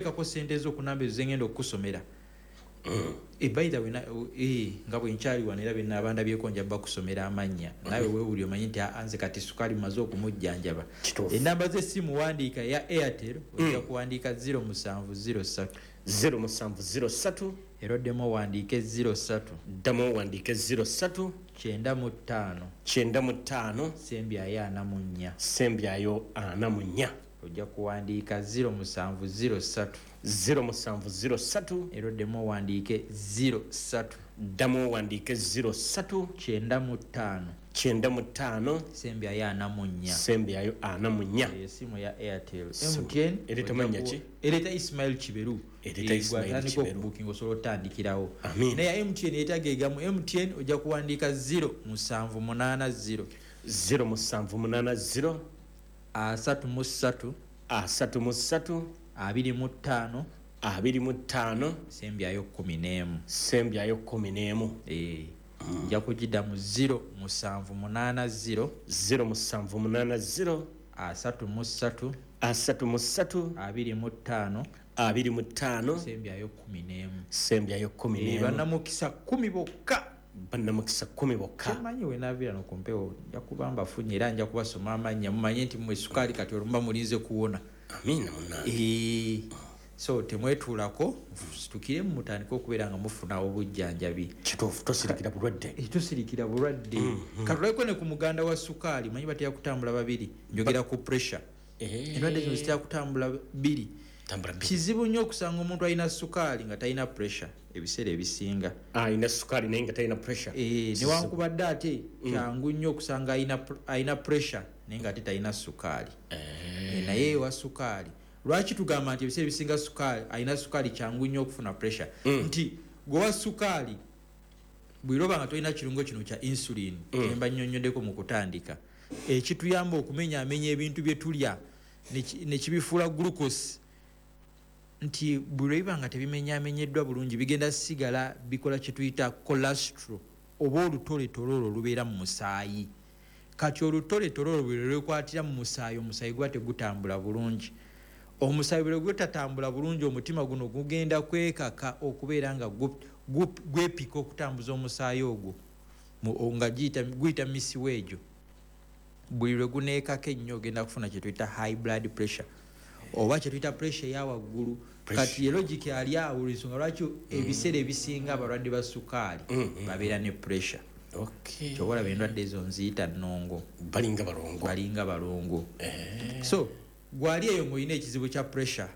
Teekako sente zo ku namba ezo zengenda okukusomera. By the way, nga bwe nkyali wano era bye ndabyeko, nja bakusomera amannya, naawe weewuli omanyi nti, "Ah, nze kati sukaali maze okumujjanjaba." Enamba z'essimu, wandiika eya Airtel, ojja kuwandiika 0703. 0703. Era oddemu owandiike 03. Ddamu owandiike 03. 95. 95. Sembyayo 44. Sembyayo 44. Ojja kuwandiika 0703. 0703. Era oddemu owandiike 03. Ddamu owandiike 03. 95. 95. Sembyayo 44. Sembyayo 44. Eyo esimu ya Airtel. MTN Ereeta mannya ki? Ereeta Ismail Kiberu. Ereeta Ismail Gwatandika Kiberu. okubukinga, osobola otandikirawo. Amiina. Naye MTN etagegamu MTN, ojja kuwandiika 0780. 0780. 33. 33. 25. 25. Sembyayo 11. Sembyayo 11. Nja kugiddamu: 0780. 0780. 33. 33. 25. 25. Sembyayo 11. Sembyayo 11. Bannamukisa 10 bokka. Bannamukisa 10 bokka. Kyemanyi, wenaviira no kumpewo nja kuba mbafunye era nja kubasoma amannya, mumanye nti mmwe sukaali kati olumba mulinze kuwona. Amiina munange. So temwetuulako, situkiremu mutandike okubeera nga mufuna obujjanjabi. Kituufu, tosirikira bulwadde. Tosirikira bulwadde. Katulabeko ne ku muganda wa sukaali, manyi batera kutambula babiri, njogera ku pressure. Endwadde zino zitera kutambula bbiri. Tambula bbiri. Kizibu nnyo okusanga omuntu alina sukaali nga talina pressure ebiseera ebisinga. Alina sukaali naye nga talina pressure. Newankubadde ate kyangu nnyo okusanga alina pressure naye nga ate talina sukaali. Naye ewa sukaali, lwaki tugamba nti ebiseera ebisinga sukaali, alina sukaali kyangu nnyo okufuna pressure? Nti gwewa sukaali bwiroba nga tolina kirungo kino kya insulin, emba nnyonnyoddeko mu kutandika, ekituyamba okumenyaamenya ebintu bye tulya nekibifuula glucose, nti buli lwebiba nga tebimenyaamenyeddwa bulungi, bigenda sigala bikola kyetuyita cholesterol oba olutoletole olwo olubeera mu musaayi. Kati olutoletole olwo bwe lwekwatira mu musaayi, omusaayi guba tegutambula bulungi. Omusaayi bwe gutatambula bulungi, omutima guno gugenda kwekaka okubeera nga gwepika okutambuza omusaayi ogwo nga guyita misiwa egyo. Buli lwe guneekako ennyo, ogenda kufuna kyetuyita high blood pressure oba kyetuyita pressure eya waggulu. Kati ye logic ali awo, ensonga lwaki ebiseera ebisinga abalwadde ba sukaali babeera ne pressure. Kyoba olaba endwadde ezo nziyita nnongo. Balinga balongo. Balinga balongo. So gwali eyo ng'olina ekizibu kya pressure,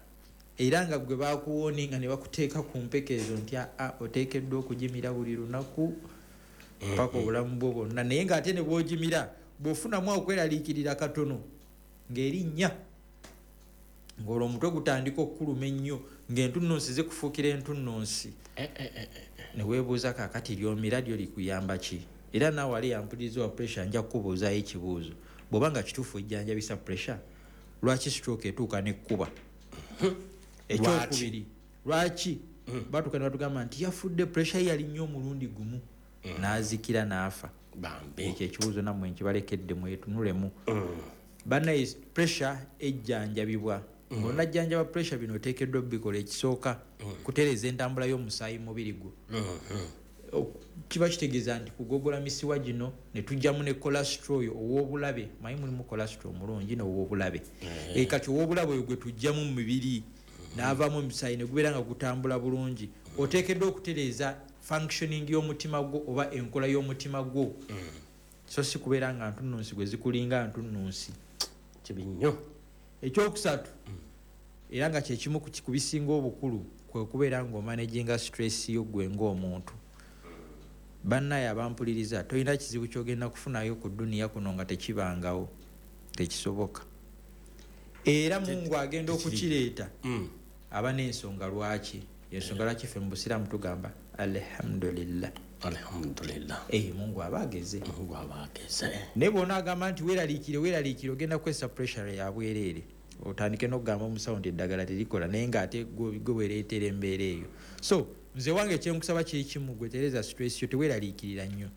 era nga gwe bakuwoninga ne bakuteeka ku mpeke ezo nti aa, oteekeddwa okugimira buli lunaku paka obulamu bwo bwonna, naye ng'ate ne bw'ogimira, bw'ofunamu okweraliikirira katono ng'erinnya, ng'olwo omutwe gutandika okukuluma ennyo, ng'entunnunsi zikufuukira entunnunsi, ne weebuuza, kaakati lyomira lyo likuyamba ki? Era naawe ali yampuliriza wa pressure, nja kukubuuzaayo ekibuuzo: bw'oba nga kituufu ejjanjabisa pressure, lwaki stroke etuuka nekkuba? Ekyokubiri, lwaki batuuka ne batugamba nti yafudde pressure ye yali nnyo omulundi gumu n'azikira n'afa? Bambi. Ekyo ekibuuzo nammwe nkibalekedde mwetunulemu. Bannaye, pressure ejjanjabibwa. Ng'onajjanjaba pressure, bino oteekeddwa obikola. Ekisooka, kutereeza entambula y'omusaayi mu mubiri gwo. Kiba kitegeeza nti kugogola misiwa gino ne tujjamu ne cholesterol oyo ow'obulabe. Manyi mulimu cholesterol omulungi n'ow'obulabe. Kati ow'obulabe oyo gwe tujjamu mu mibiri, n'avaamu omusaayi ne gubeera nga gutambula bulungi. Oteekeddwa okutereeza functioning y'omutima gwo oba enkola y'omutima gwo, so si kubeera nga ntunnunsi gwe zikulinga ntunnunsi. Kibi nnyo. Ekyokusatu, era nga kyekimu ku bisinga obukulu, kwe kubeera ng'omanaginga stress yo gwe ng'omuntu. Bannaye abampuliriza, tolina kizibu kyogenda kufunayo ku dduniya kuno nga tekibangawo, tekisoboka. Era Mungu agenda okukireeta, aba n'ensonga lwaki. Ensonga lwaki ffe mu Busiraamu tugamba alhamdulillah. Alhamdulillah. Mungu aba ageze. Mungu aba ageze. Naye bwona agamba nti weeraliikire, weeraliikire, ogenda kukozesa pressure ya bwereere, otandike n'okugamba omusawo nti eddagala terikola, naye ng'ate gwe weereetera embeera eyo. So nze wange kyenkusaba kiri kimu: gwe tereza stress yo, teweeraliikirira nnyo.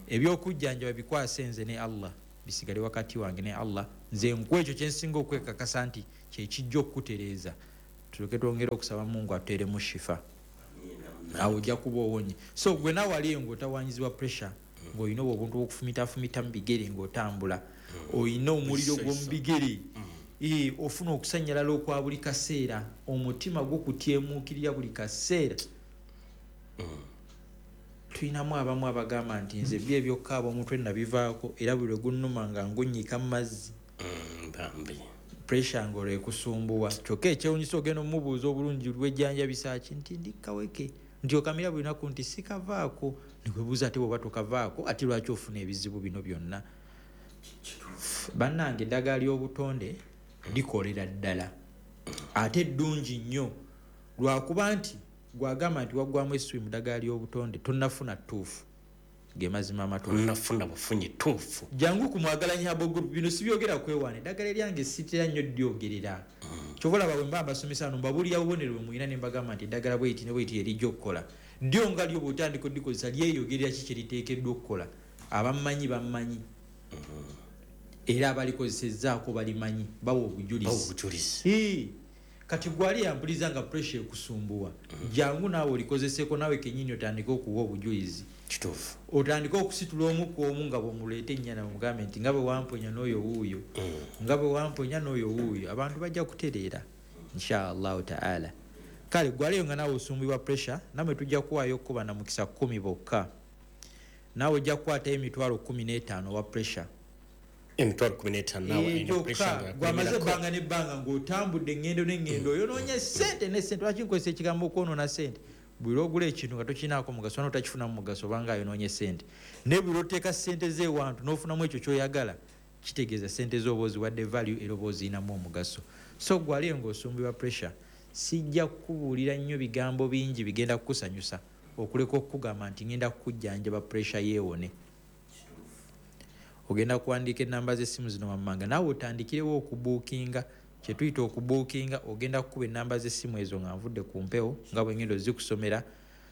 Ebyokujjanjaba bikwase nze ne Allah, bisigale wakati wange ne Allah. Nze nkuwa ekyo kyensinga okwekakasa nti kyekijja okukutereeza. Tuleke twongere okusaba Mungu atuteeremu shifa. Awo ojja kuba owonye. So gwe naawe ali eyo ng'otawaanyizibwa pressure, ng'olina obwo obuntu obw'okufumitafumita mu bigere ng'otambula, olina omuliro gw'omu bigere, ofuna okusannyalala okwa buli kaseera, omutima gukutyemuukirira buli kaseera. Tulinamu abamu abagamba nti nze byo ebyokkaaba omutwe nabivaako, era buli lwe gunnuma nga ngunnyika mu mazzi. Bambi. Pressure ng'olwo ekusumbuwa. Kyokka ekyewuunyisa ogenda omubuuza obulungi lwejjanjabisa ki, nti ndi kaweke, nti okamira buli lunaku, nti sikavaako. Nekwebuuza ate bw'oba tokavaako ate lwaki ofuna ebizibu bino byonna? Bannange, eddagala ly'obutonde likolera ddala ate ddungi nnyo, lwakuba nti gwagamba nti waggwamu essuubi mu ddagala ly'obutonde, tonnafuna ttuufu. Ge mazima amatuufu. Tonnafuna bufunyi ttuufu. Jangu ku Mwagalanyi Herbal Group, bino sibyogera kwewaana, eddagala eryange sitera nnyo ddyogerera. Kyova olaba bwe mba mbasomesa wano mbabuulira bubonero bwe mulina ne mbagamba nti eddagala bw'eriti ne bw'eriti erijja okukola. Ddyo nga lyo bw'otandika oddikozesa lyeyogerera ki kye liteekeddwa okukola. Abammanyi bammanyi. Era abalikozesezzaako balimanyi, bawa obujulizi. Bawa obujulizi. Kati gwe ali yampuliza nga pressure ekusumbuwa, jangu naawe olikozeseko, naawe kennyini otandike okuwa obujulizi. Kituufu. Otandike okusitula omu ku omu nga bw'omuleeta ennyana, omugambe nti nga bwe wamponya n'oyo wuuyo, nga bwe wamponya n'oyo wuuyo, abantu bajja kutereera inshaallahu taala. Kale gwe aliyo nga naawe osumbibwa pressure, nammwe tujja kuwaayo okuba na mukisa 10 bokka. Naawe ojja kukwatayo emitwalo 15 owa pressure. Emitwalo 15 naawe alina pressure nga Gwamaze yakulemerako. ebbanga n'ebbanga ng'otambudde eŋŋendo n'eŋŋendo, oyonoonye ssente ne ssente. Lwaki nkozesa ekigambo okwonoona ssente? Buli lw'ogula ekintu nga tokirinaako mugaso, n'otakifunamu mugaso obanga ayonoonye ssente. Naye buli lw'oteeka ssente z'ewantu n'ofunamu ekyo ky'oyagala, kitegeeza ssente z'oba oziwadde value era oba ozirinamu omugaso. So gwe aliyo ng'osumbibwa pressure, sijja kukubuulira nnyo bigambo bingi bigenda kukusanyusa okuleka okukugamba nti ngenda kukujjanjaba pressure yeewone. Ogenda kuwandiika ennamba z'essimu zino wammanga, naawe otandikirewo okubuukinga. Kye tuyita okubuukinga, ogenda kukuba ennamba z'essimu ezo nga nvudde ku mpewo nga bwe ngenda ozikusomera.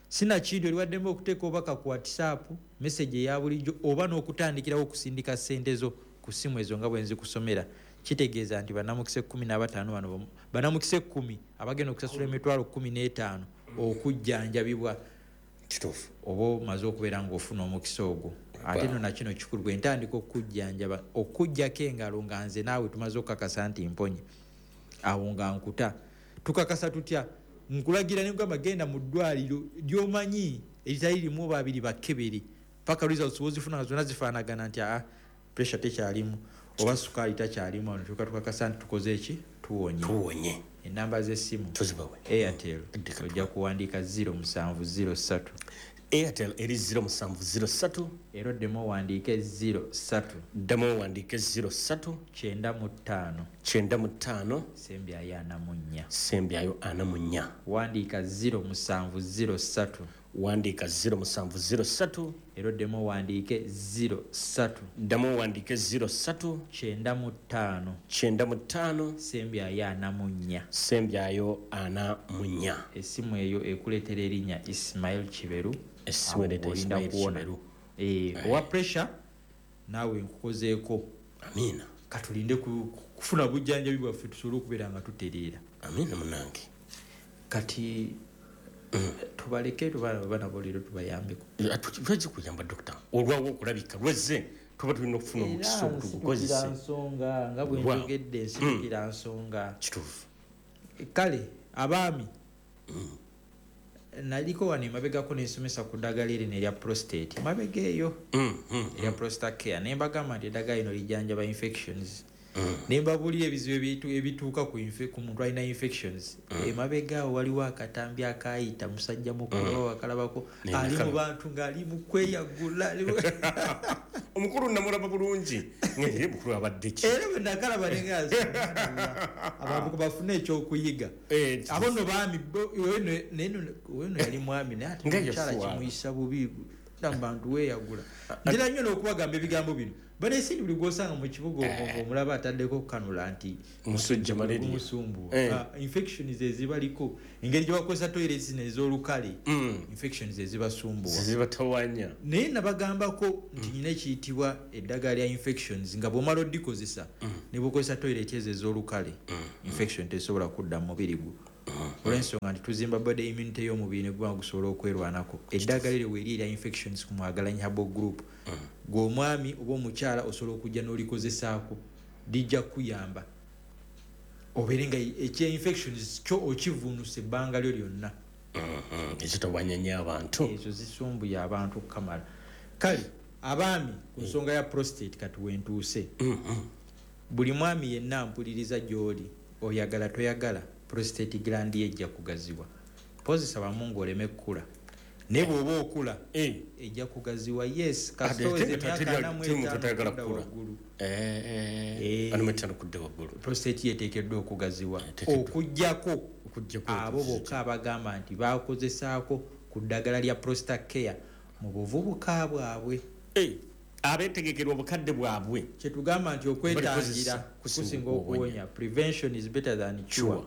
Sinakindi oli waddembe okuteeka obubaka ku WhatsApp, message eya bulijjo, oba n'okutandikirawo okusindika ssente zo ku ssimu ezo nga bwe nzikusomera. Kitegeeza nti bannamukisa 15 bano, bannamukisa 10 abagenda okusasula emitwalo 15 okujjanjabibwa. Kituufu. Oba omaze okubeera ng'ofuna omukisa ogwo. Ate nno na kino kikulu, bwe ntandika okukujjanjaba, okuggyako engalo nga nze naawe tumaze okukakasa nti mponye, awo nga nkuta. Tukakasa tutya? Nkulagira ne nkugamba genda mu ddwaliro ly'omanyi eritali limu oba abiri bakkebere, paka results w'ozifuna nga zonna zifaanagana nti aa pressure tekyalimu oba sukaali takyalimu, wano tuka tukakasa nti tukoze ki? Tuwonye. Tuwonye. Ennamba z'essimu. Tuzibawe. Airtel. Ddeka. Ojja kuwandiika 0703. Airtel eri 0703. Era oddemu owandiike 03. Ddamu owandiike 03. 95. 95. Sembyayo 44. Sembyayo 44. Wandiika 0703. Wandiika 0703. Era oddemu owandiike 03. Ddamu owandiike 03. 95. 95. Sembyayo 44. Sembyayo 44. Essimu eyo ekuleetera erinnya Ismail Kiberu. Essimu ereeta Awo olinda Ismail kuwona. Kiberu. Owa pressure naawe nkukozeeko. Amiina. Katulinde kufuna bujjanjabi bwaffe tusobole okubeera nga tutereera. Amiina munnange. Kati tubaleke bana bo leero tubayambeko. Lwaki kuyamba dokita? Olwawo okulabika lwezze tuba tulina okufuna omukisa Era ogutugukozese. nsitukira nsonga nga bwe Wow. njogedde, nsitukira nsonga. Kituufu. Kale abaami, naliko wano emabegako nensomesa ku ddagala erino erya prostate emabega eyo, erya prostate care, ne mbagamba nti eddagala lino lijjanjaba infections. Ne mbabuulira ebizibu ebituuka ku muntu alina infections. Emabega awo waliwo akatambi akaayita musajja mukulu akalabako, Ne ali mu nakala. bantu ng'ali mu kweyagula, ali mu Omukulu namulaba bulungi. Ngeri mukulu abadde ki? Era bwe nakalaba ne nga abantu bafune ekyokuyiga. Abo nno baami, bo, naye nno, oyo nno yali mwami, naye ate Nga omukyala yaswala. kimuyisa bubi, gamba nti weeyagula. Ntera nnyo n'okubagamba ebigambo bino. Bano esindi buli gw'osanga mu kibuga omwo ng'omulaba ataddeko kanula nti Musujja malaria. Gumusumbuwa. Infections ezibaliko, engeri gye bakozesa toilets zino ez'olukale, infections ezibasumbuwa. Zibatawanya. Naye nabagambako nti nyina ekiyitibwa eddagala lya infections, nga bw'omala oddikozesa, ne bw'okozesa toilet ezo ez'olukale, infection tesobola kudda mu mubiri gwo. Olw'ensonga nti tuzimba body immunity y'omubiri ne guba gusobola okwerwanako. Eddagala eryo weeri erya infections ku Mwagalanyi Herbal Group, gwe omwami oba omukyala osobola okujja n'olikozesaako, lijja kukuyamba obeere nga ekya infections kyo okivuunusa ebbanga lyo lyonna. Ekitawanya nnyo abantu. Ezo zisumbuye abantu okukamala. Kale abaami, ku nsonga ya prostate kati wentuuse. Buli mwami yenna mpuliriza gy'oli, oyagala toyagala, prostate gland ye ejja kugaziwa. Pozisa bamu ng'oleme kkula, naye bw'oba okula ejja kugaziwa. Yes, kasita oweza emyaka 45 kudda waggulu. 45 kudda waggulu. Prostate yeteekeddwa okugaziwa, okugjako abo bokka abagamba nti bakozesaako ku ddagala lya Prostate Care mu buvubuka bwabwe. Abeetegekerwa obukadde bwabwe. Kyetugamba nti okwetangira kusinga okuwonya. Prevention is better than cure.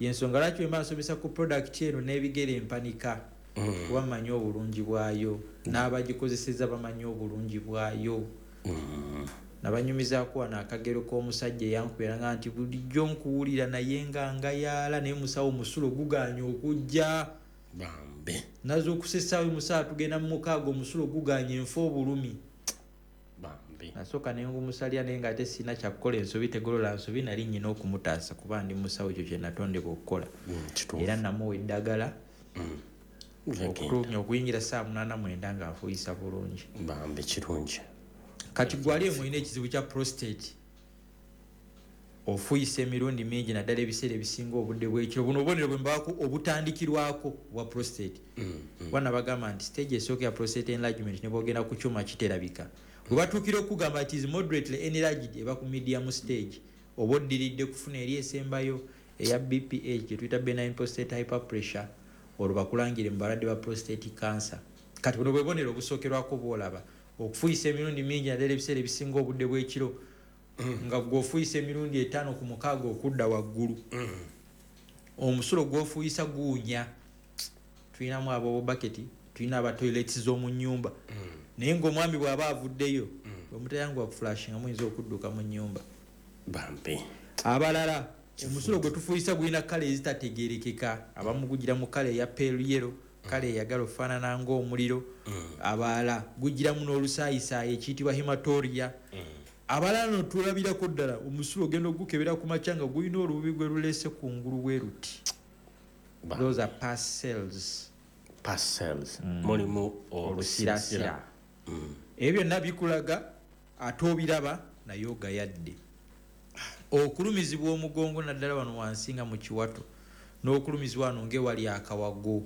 Yensonga lwaki wemba nsomesa ku product eno n'ebigere empanika, kuba mmanyi obulungi bwayo, n'abagikozeseza bamanyi obulungi bwayo. Nabanyumizaako wano akagero k'omusajja eyankubiranga nti, "Bulijjo nkuwulira naye nga ngayaala, naye musawo omusulo guganye okujja." Bambi. Nazuukusa essaawa 6 tugenda mu 6, omusulo guganye, enfa obulumi. Bambi. Nasooka nengumusalira, naye nga ate sirina kyakukola, ensobi tegolola nsobi. Nali nyina okumutaasa kuba ndi musawo, ekyo kye natondebwa okukola. Era namuwa eddagala okuyingira saa 8, 9 ng'afuuyisa bulungi. Bambi, kirungi. Kati gwali emulina ekizibu kya prostate, ofuuyisa emirundi mingi, naddala ebiseera ebisinga obudde bwekiro, buno obubonero bwe mbaako obutandikirwako bwa prostate. Wana bagamba nti stage esooka ya prostate enlargement, ne bwogenda ku kyuma kiterabika, bwe batuukira okugamba nti is moderately enlarged, eba ku medium stage, oba oddiridde kufuna eri esembayo eya BPH, gye tuyita benign prostate hyperpressure, olwo bakulangire mu balwadde ba prostate cancer. Kati buno bwe bubonero obusookerwako bwolaba: okufuuyisa emirundi mingi, naddala ebiseera ebisinga obudde bw'ekiro, nga gwe ofuuyisa emirundi 5 ku 6 okudda waggulu, omusulo gw'ofuuyisa guwunya. Tulinamu ab'obubaketi, tulina aba toilets z'omu nnyumba, naye ng'omwami bw'aba avuddeyo, bwe mutayanguwa kuflushinga, muyinza okudduka mu nnyumba. Bambi. Abalala omusulo gwe tufuuyisa gulina colour ezitategerekeka. Abamu gugira mu colour eya pale yellow, colour eyagala ofaanana ng'omuliro. Abalala gugiramu n'olusaayisaayi ekiyitibwa hematuria. Abalala no tulabirako ddala omusulo ogenda ogukebera ku makya nga gulina olububi gwe luleese ku ngulu bwe luti. Those are pus cells. Pus cells, mulimu olusirasira. Ebyo byonna bikulaga ate obiraba naye ogayadde. Okulumizibwa omugongo, naddala wano wansi nga mu kiwato, n'okulumizibwa wano ng'ewali akawago,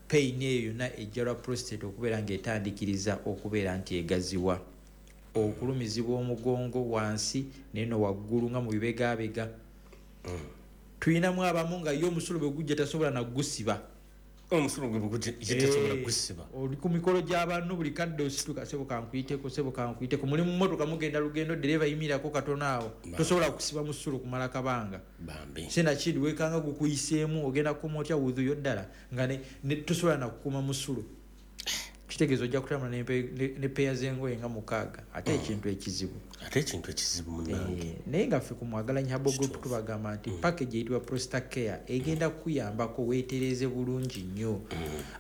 pain eyo yonna ejja lwa prostate okubeera ng'etandikiriza okubeera nti egaziwa. Okulumizibwa omugongo wansi neno waggulu nga mu bibegabega. Tuyinamu abamu nga ye omusulo bwe gujja tasobola nagusiba. Omusulo gwe gujja tasobola gusiba. Oli ku mikolo gy'abantu, buli kadde osituka, "Sebo kankuyiteko, sebo kankuyiteko." Muli mu mmotoka mugenda lugendo, dereva yimirako katono awo, tosobola kusiba musulo kumala kabanga. Bambi. Sinakindi wekanga gukuyiseemu, ogenda kukuma otya wudhuyo ddala nga tosobola nakukuma musulo? Kitegeeza ojja kutambula ne peya z'engoye nga 6, ate ekintu ekizibu. Ate ekintu ekizibu, munange. Naye nga ffe ku Mwagalanyi Herbal Group tubagamba nti package eyitibwa Prostate Care egenda kukuyambako weetereze bulungi nnyo.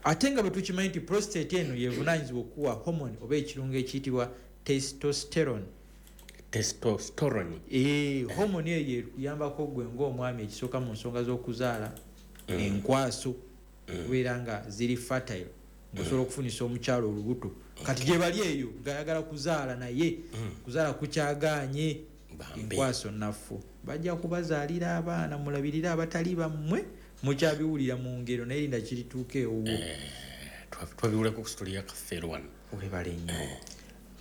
Ate nga bwe tukimanyi nti prostate eno yevunaanyizibwa okuwa hormone oba ekirungo ekiyitibwa testosterone. Testosterone. Hormone eyo ekuyambako gwe ng'omwami, ekisooka mu nsonga z'okuzaala, enkwaso kubeera nga ziri fertile, ng'osobola okufunisa omukyalo olubuto. Kati gye bali eyo ng'ayagala kuzaala naye kuzaala kukyagaanye, enkwaso naffu, bajja kubazaalira abaana mulabirire abatali bammwe. Mukyabiwulira mu ngero, naye linda kirituuka ewuwo. Twabiwulako ku story ya Kafeero wano. Webale nnyo.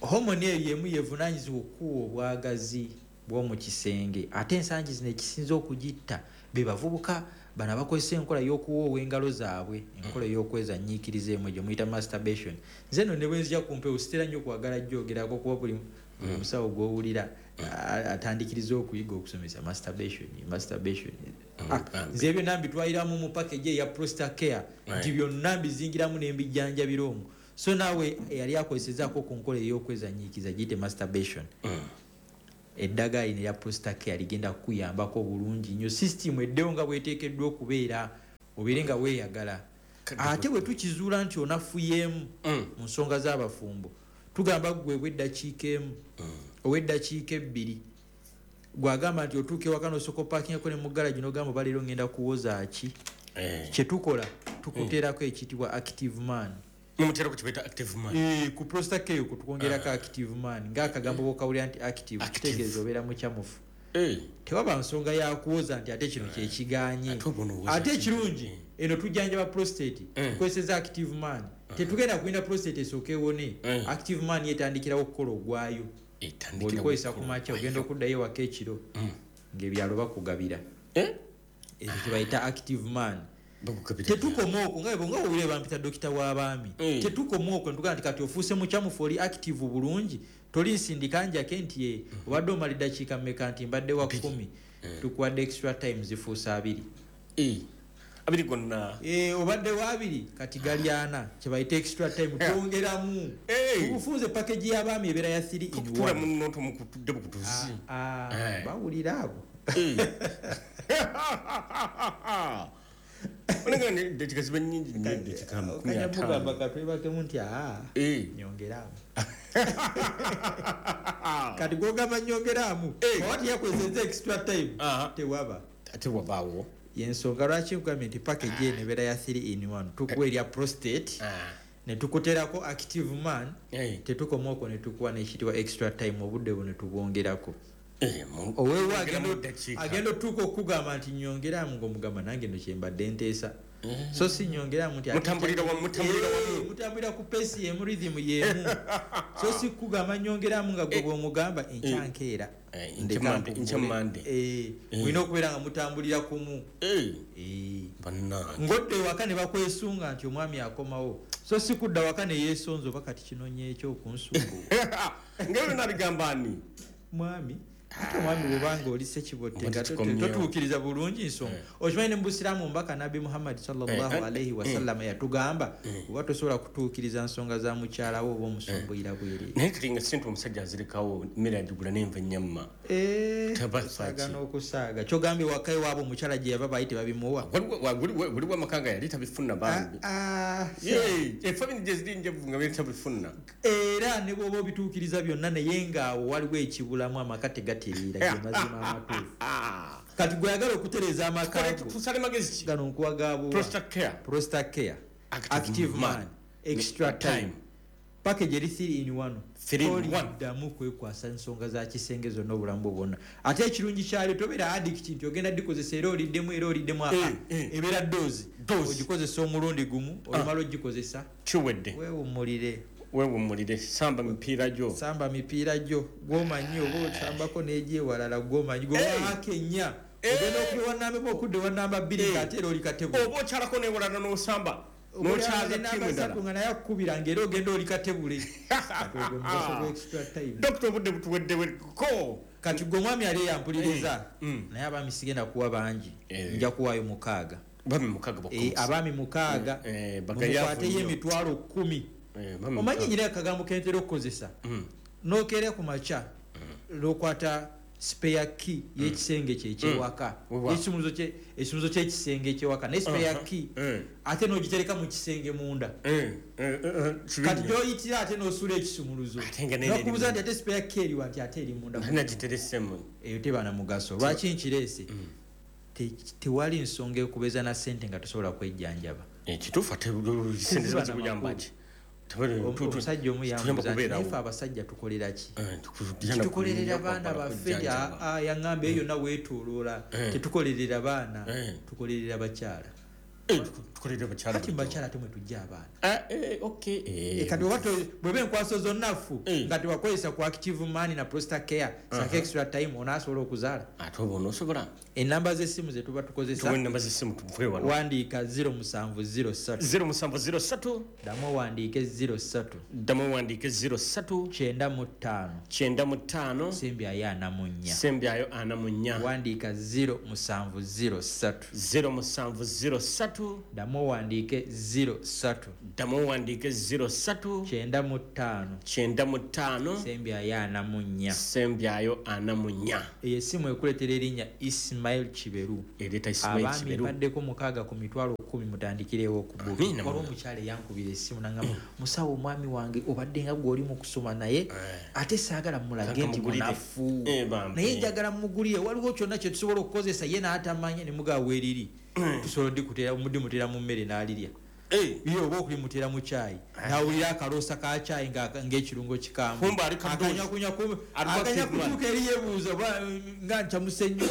Hormone eyo emu yevunaanyizibwa okuwa obwagazi bw'omu kisenge. Ate ensangi zino ekisinza okugitta be bavubuka bano abakozesa enkola y'okuwoowa engalo zaabwe, enkola ey'okwezanyiikiriza emu gye muyita masturbation. Nze nno ne bwe nzija ku mpewo sitera nnyo kwagala gyogerako, kuba buli musawo gw'owulira atandikiriza okuyiga okusomesa masturbation, masturbation. Nze byonna mbitwaliramu mu package eya Prostate Care, nti byonna mbizingiramu ne mbijjanjabira omwo. So naawe eyali akozesezaako ku nkola ey'okwezanyiikiza, giyite masturbation, Eddagala lino erya Prostacare ligenda kukuyambako bulungi nnyo, sisitimu eddewo nga bweteekeddwa okubeera, obeere nga weeyagala. Ate bwe tukizuula nti onafuyeemu mu nsonga z'abafumbo, tugamba ggwe bw'eddakiika emu ow'eddakiika 2, gwagamba nti otuuka ewaka n'osooka opaakingako ne mu garagi n'ogamba oba leero ngenda kuwoza ki, kyetukola tukuteerako ekiyitibwa Active Man. Mumuteerako kibaita Active Man. Ku Prostacare okwo tukwongerako Active Man, ng'akagambo bw'okawulira nti active, kitegeeza obeera mukyamufu. Tewaba nsonga yakuwoza nti ate kino kyekiganye. Ate ekirungi eno tujjanjaba prostate, tukozeseza Active Man. Tetugenda kulinda prostate esooke ewone. Active Man yetandikirawo okukola ogwayo. Bw'olikozesa ku makya, ogenda okuddayo ewaka ekiro ng'ebyalo bakugabira. Ekyo kyebayita Active Man. Tetukoma okwo, nga owulire bampita dokita w'abaami. Tetukoma okwo, ntugamba nti kati ofuuse mukyamufu, oli active bulungi, toli nsindika njake nti ye obadde omala eddakiika mmeka, nti mbadde wa 10, tukuwadde extra time, zifuuse 20. 20 gonna. Obadde wa 20, kati gali 40, kyebayita extra time, twongeramu. Obufunze package y'abaami ebeera ya 3 in Tukutuula 1. Munno tumukutudde bukutuzi. Bawulira abo. Olenga ne eddakiika ziba nnyingi nnyo, eddakiika amakumi Okanya ataano. mugamba katwebakemu nti, nyongeramu. Kati gw'ogamba nyongeramu, oba teyakozesa extra time, tewaba. Ate wabaawo. Yensonga lwaki nkugambye nti package eno ebeera ya 3 in 1. Tukuwa erya prostate, ne tukuteerako Active Man, tetukoma okwo, ne tukuwa n'ekiyitibwa extra time, obudde buno tubwongerako. Oweewo Mwongeramu eddakiika. agenda otuuka okukugamba nti nyongeramu, ng'omugamba nange no kyembadde nteesa. So si nyongeramu nti ate Mutambulira wamu, mutambulira wamu. Mutambulira ku pace y'emu, rhythm y'emu. So si kugamba nyongeramu nga gwe bw'omugamba enkya nkeera. Ndeka nkugule. Enkya Mande. Mulina okubeera nga mutambulira kumu. Bannange. Ng'odda ewaka ne bakwesunga nti omwami akomawo. So si kudda waka ne yeesonza oba kati kinonye ekyokunsungu. Nga byonna bigamba ani? Mwami. Ate omwami bw'obanga oli ssekibotte Oba nga tetukomyewo. totuukiriza bulungi nsonga. Okimanyi ne mu Busiraamu omubaka Nabbi Muhammad sallallahu alaihi wasallam yatugamba, oba tosobola kutuukiriza nsonga za mukyala wo oba omusumbuyira bwereere. Naye kati nga ssente omusajja azirekawo, emmere agigula n'enva ennyama. Taba Okusaaga faki. n'okusaaga. Ky'ogambye waka ewaabwe omukyala gye yava baali tebabimuwa. Waliwo amaka nga yali tabifuna bambi. Efamily gye ziri njevu nga yali tabifuna. Era ne bw'oba obituukiriza byonna naye ng'awo waliwo ekibulamu, amaka tegatereera, ge mazima amatuufu. Kati gwe ayagala okutereeza amaka Tukole ago, tusale magezi ki? Gano nkuwa ga buwa. Prostacare. Prostacare. Active Active Man. Man. Extra Time. time. Package eri 3 in 1. 3 in 1. Toliddamu kwekwasa nsonga za kisenge zonna obulamu bwo bwonna. Ate ekirungi kyalyo tobeera addict nti ogenda dikozesa era oliddemu era oliddemu, ebeera dose. Dose. Ogikozesa omulundi gumu, olumala ogikozesa. Kiwedde. Weewummulire. Weewummulire, samba mipiira gyo. Samba mipiira gyo, gw'omanyi oba osambako n'egyewalala gw'omanyi. Gwe waaka ennya. Ogenda okuba wa namba emu okudda wa namba bbiri ng'ate era oli katebule. Oba okyalako n'ewalala n'osamba. Oba N'okyaza olaba ttiimu namba endala. ssatu nga naye akukubira ng'era ogenda oli katebule. Kati ogwo mugaso gwa extra time. Dokita, obudde butuweddeweko. Kati gwe omwami ali eyampuliriza, naye abaami sigenda kuwa bangi. Nja kuwaayo 6. Abaami 6 bokka. Abaami 6. Bagayavu Mukwateyo nnyo. emitwalo 10. Abaami Omanyi 6. nyina akagambo ke ntera okukozesa? N'okeera ku makya, n'okwata spare key y'ekisenge kye eky'ewaka. Wewa. Ekisumuluzo ky'ekisenge eky'ewaka, naye spare key, ate n'ogitereka mu kisenge munda. Kati gy'oyitira ate n'osuula ekisumuluzo. Ate nga nene N'okubuuza eri nti ate spare key eriwa, nti ate eri munda. Ate nagiteresemu. Eyo teba na mugaso. Lwaki nkireese? Tewali nsonga ekubeeza na ssente nga tosobola kwejjanjaba. Kituufu, ate ssente ziba Teziba na zikuyamba makulu. ki? Tebali- Omusajja omu tuyamba yambuuza nti, kubeerawo. naye ffe abasajja tukolera ki? Tugenda Tukolerera kunywa baana kwambala baffe, kujjanjaba. yaŋŋamba eyo yonna weetooloola. Tetukolerera baana, tukolerera bakyala. Tukolerera bakyala Kati bulijjo. bakyala ate mwe tujja abaana. Kati oba bw'eba enkwaso zonna ffu, nga tewakozesa ku Active Man na Prostacare, saka extra time, onaasobola okuzaala. Ate oba onoosobola? Ennamba z'essimu ze tuba tukozesa. Tuwe ennamba z'essimu tuve wano. Wandiika zero musanvu zero ssatu. Zero musanvu zero ssatu. Ddamu owandiike zero ssatu. Ddamu owandiike zero ssatu. 95. 95. Sembyayo 44. Sembyayo 44. Wandiika zero musanvu zero ssatu. Zero musanvu zero ssatu. 03, ddamu owandiike 03, ddamu owandiike 03, 95, 95, sembyayo 44, sembyayo 44. Eyo essimu ekuleetera erinnya Ismail Kiberu. Ereeta Ismail Abaami Kiberu. mpaddeko 6 ku mitwalo 10 mutandikirewo okubuuka. Amiina. Waliwo omukyala eyankubira essimu n'angamba, musawo omwami wange obadde nga gw'oli mu kusoma naye ate saagala mulage nti Mugulire. munafu. Bambi. Naye njagala mugulire, waliwo kyonna kye tusobola okukozesa ye n'atamanya ne mugaba weeriri. Tusobola odimutera mu mmere n'alirya. Ye oba okulimutera mu kyayi n'awulira akaloosa ka kyayi ng'ekirungo kikambwe. Kumbe ali kadoozi. Akanyakunya kumbe, Ali akanya kwa kutuuka eri yeebuuza oba nga ncamuse nnyo,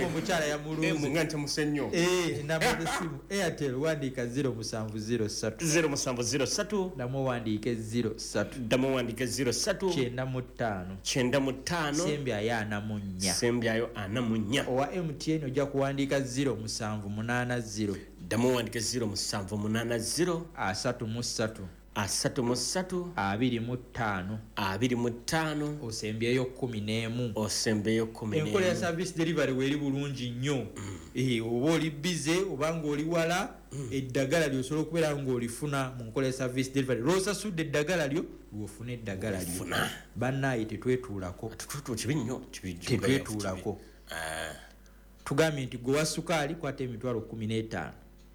omukyala yamulunze. Nga ncamuse nnyo. Enamba z'essimu Airtel wandiika 0703, 0703, ddamu owandiike 03, ddamu owandiike 03, 95, 95, sembyayo 44, sembyayo 44. Owa MTN ojja kuwandiika 0780, ddamu owandiike 0780, 33, 33, 25, 25, osembyeyo 11, osembeyo 11. Enkola ya service delivery weeri bulungi nnyo. Oba oli busy oba ng'oli wala, eddagala lyosobola okubeera ng'olifuna mu nkola ya service delivery. Lw'osasudde eddagala lyo, lw'ofuna eddagala lyo. Funa. Bannaaye tetwetuulako. Kibi nnyo, kibi nnyo. Tetwetuulako. Tugambye nti gwe wa sukaali kwata emitwalo 15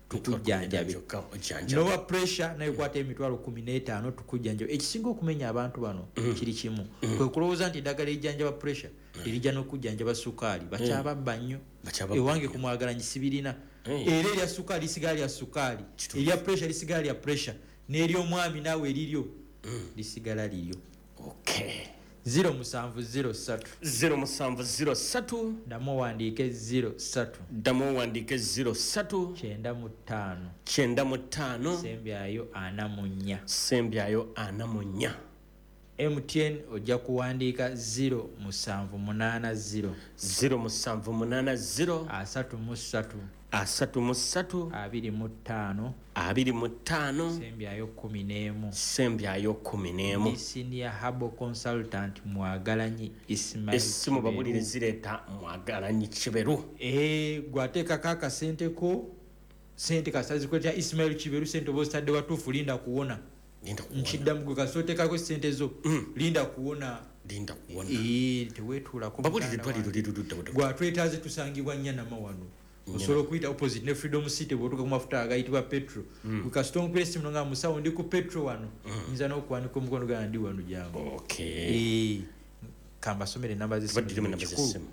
tukujjanjabe. Kyokka ojjanjabe. Nowa pressure naye kwata emitwalo 15 tukujjanjabe. Ekisinga okumenya abantu bano kiri kimu, kwe kulowooza nti eddagala erijjanjaba pressure erijja n'okujjanjaba sukaali. Bakyababba nnyo. Bakyababba Ewange ku Mwagalanyi sibirina. Era erya sukaali lisigala lya sukaali, erya pressure lisigala lya pressure, n'ery'omwami naawe eriryo lisigala liryo. 0703, 0703, ddamu owandiike 03, ddamu owandiike 03, 95, 95, sembyayo 44, sembyayo 44. MTN ojja kuwandiika 0780, 0780, 33, 33, 25, 25, sembyayo 11, sembyayo 11. Ndi senior herbal consultant Mwagalanyi Ismail Essimu Kiberu. babulire zireeta Mwagalanyi Kiberu. Gwateekako akasente ko, sente kasita zikuleetera Ismail Kiberu, sente oba ozitadde watuufu, linda kuwona. Linda kuwona. Nkiddamu, gwe kasita oteekako sente zo, linda kuwona. Linda kuwona. Teweetuulako Babulire muganda eddwaliro wange. liri ludda wa? Gwatwetaaze tusangibwa Nyanama wano. Osobola okuyita opposite ne Freedom City bw'otuuka ku mafuta agayitibwa petro. Gwe kasita onkubira essimu nga musawo ndi ku petro wano, nyinza n'okuwanika omukono gwange ndi wano jangu. Kambasomere enamba z'essimu. Tubaddiremu enamba Kikulu. z'essimu.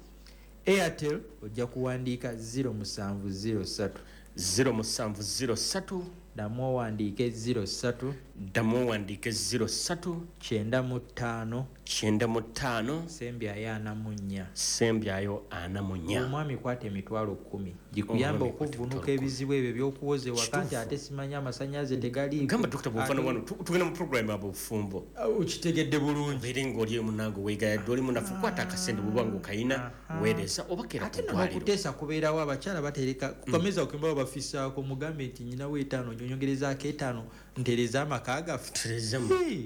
Airtel ojja kuwandiika 0703, 0703, ddamu owandiike 03, ddamu owandiike 03, 95, 95, sembyayo 44, sembyayo 44. Omwami kwata emitwalo 10 gikuyamba Omwami kwata okuvvuunuka emitwalo ebizibu ebyo ebyokuwoza ewaka nti Kituufu. ate simanyi amasannyalaze tegaliiko. Gamba dokita bw'ofaana wano tugenda mu program ab'obufumbo. Okitegedde bulungi. Obeere ng'oli munange weegayadde oli munafu, kwata akasente bw'oba ng'okayina weereza oba keera Ate ku nno ddwaliro. n'okuteesa kubeerawo, abakyala batereka ku kameza okembawo bafisaako, mugambe nti nyinawo 5 nyongerezaako 5 ntereze amaka gaffe. Tuterezemu. Hey.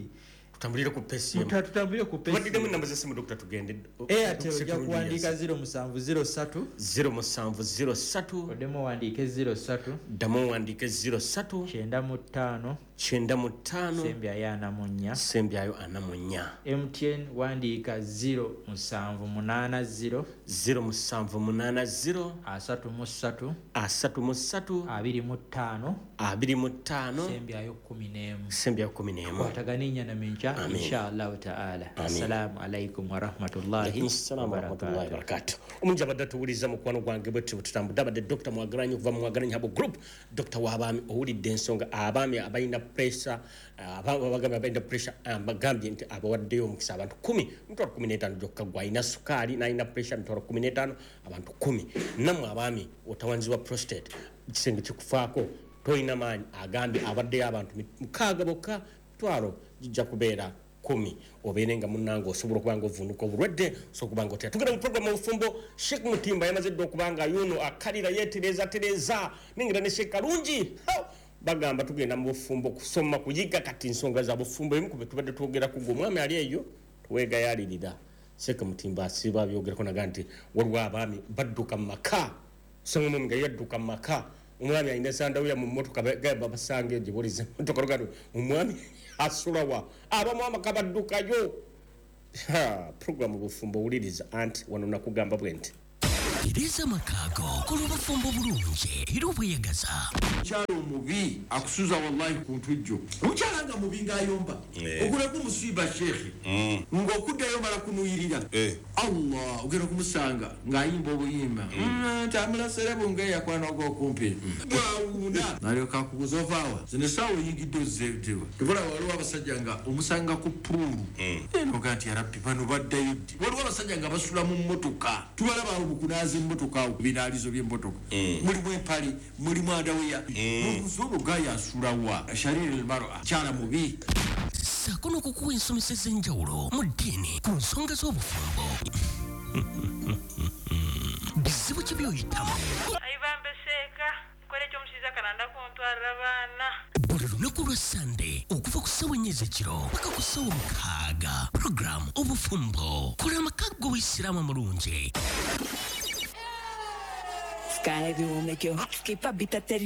Tutambulire ku pesi emu. Tutambulire ku pesi. Tubaddidemu enamba z'essimu dokita tugende. Airtel ojja kuwandiika 0703, 0703, oddemu owandiike 03, ddamu owandiike 03, 95, 95, sembyayo 44, sembyayo 44. MTN wandiika 0780, 0780, 33, 33, 25, 25, sembyayo 11. Sembyayo 11. Kwatagana enyanama enkya Amin. inshallahu taala. Assalamu alaikum warahmatullahi Alaikum salaam warahmatullahi wabarakatuh. Omungi abadde atuwuliriza mukwano gwange bwe tutyo tutambudde abadde Dr. Mwagalanyi okuva mu Mwagalanyi Herbal Group. Dr. w'abaami, owulidde ensonga abaami abalina pressure, abagambye abalina pressure, bagambye nti abawaddeyo omukisa abantu 10, mitwalo 15 gyokka. Gwe alina sukaali n'alina pressure, mitwalo 15, abantu 10. Nammwe abaami otawanzibwa prostate, ekisenge kikufaako, tolina maanyi, agambye abaddeyo abantu 6 bokka, mitwalo gijja kubeera 10, obeere nga munnange osobola okuba nga ovuunuka obulwadde, osobola okuba nga otera. Tugenda mu program obufumbo. Sheikh Mutimba yamaze dda okuba nga yuno akalira yeetereza tereza nengera ne Sheikh Kalungi. Ha! Bagamba tugenda mu bufumbo kusoma kuyiga kati nsonga za bufumbo ebimu ku bye tubadde twogera ku gwe omwami ali eyo tuweegayalirira. Sheikh Mutimba asiiba abyogerako naga nti waliwo abaami badduka mu maka, osanga omwami nga yadduka mu maka Omwami alina sandawuya mu mmotoka, gamba basanga gye buliza emmotoka lugano omwami asulawa, abamu amaka baddukayo. Programu Bufumbo wuliriza, anti wano nakugamba bwe nti Tereza amaka go, kola obufumbo bulungi era obweyagaza. Omukyala omubi akusuza wallahi ku ntujjo. Omukyala nga mubi ng'ayomba, ogulako musiiba sheekhe, ng'okuddayo mala kunuyirira. Allah, ogenda kumusanga ng'ayimba obuyimba tambula serebu ng'eyakwana ogw'okumpi bwawuuna, nalyoka akubuza ovaawa zino essaawa oyingidde ozzeewa. Tubula waliwo abasajja nga omusanga ku puulu enoga nti yarabbi bano baddayo ddi. Waliwo abasajja nga basula mu mmotoka, tubalaba awo mu kunaaza emmotoka awo ku binaalizo by'emmotoka, mulimu empale, mulimu andaweya, nobuuza ono asulawa. Shariri almar'a, kyala mubi. Ssaako n'okukuwa ensomesa ez'enjawulo mu ddiini ku nsonga z'obufumbo. Bizibu ki by'oyitamu? Ayibambe seeka nkola ekyomushiija kalanda kuntwarira abaana. Buli lunaku lwa Sande okuva ku ssaawa 4 ez'ekiro paka ku ssaawa 6, puroguramu Obufumbo, kola amaka g'Obuyisiraamu amulungi. Sky will make your heart skip a bit at the